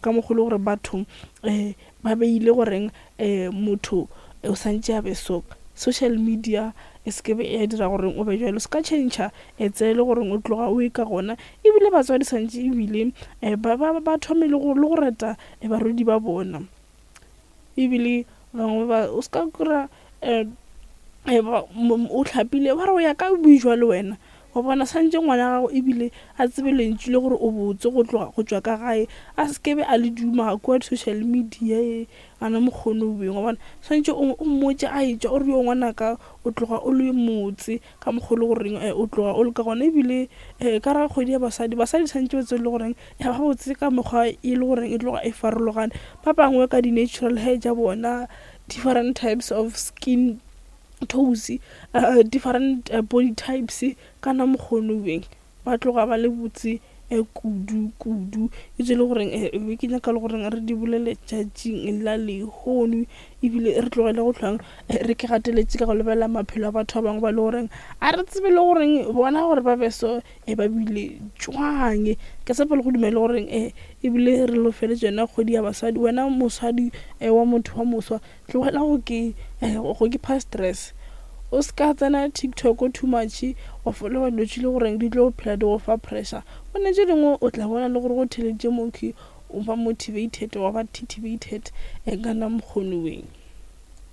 Ka mokgwa e le gore batho ba beile goreng motho o santše a be so. Social media e se ke be ya dira gore o be jalo, se ka tšhentšha tsela e le goreng o tloga o e ka gona. Ebile batswadi santše ebile ba thome le go reta barwedi ba bona. Ebile bangwe ba o se ka kry-a o hlapile ba re o ya ka bojwa le wena. Wa bona santše ngwana gago ebile a tsebe lentšu le gore o botse go tloga go tšwa ka gae, a se ke be a le duma kua di-social media e ana mokgone o beng. Wa bona swantše o mmotše a etšwa o re yo ngwanaka o tloga o le motse ka mokgwa o le goreng o tloga o le ka gona. Ebile ka ra kgwedi ya basadi, basadi swantše ba tsebe le goreng ba botse ka mekgwa e le goreng e tloga e farologane. Ba bangwe ka di-natural hair tša bona, different types of skin tones, different body types kana mokgone beng ba tloga ba le botse kudu kudu. E tse le goreng be ke nyaka le goreng re di bolele tšatšing la lehono, ebile re tlogele go hlwang re ke gateletše ka go lebelela maphelo a batho ba bangwe ba le goreng a re tsebe le goreng bona gore ba be so ba bile jwang. Ke tshepa le go dumela le goreng ebile re lo feletše yona kgwedi ya basadi. Wena mosadi wa motho wa moswa, tlogela go ke go ke pha stress. O se ka tsena TikTok too much wa followa dilo tše le goreng di tlo phela di go fa pressure. Gone tše dingwe o tla bona le gore go theleditše mokhi o ba motivated wa ba titivated kana mokgone weng.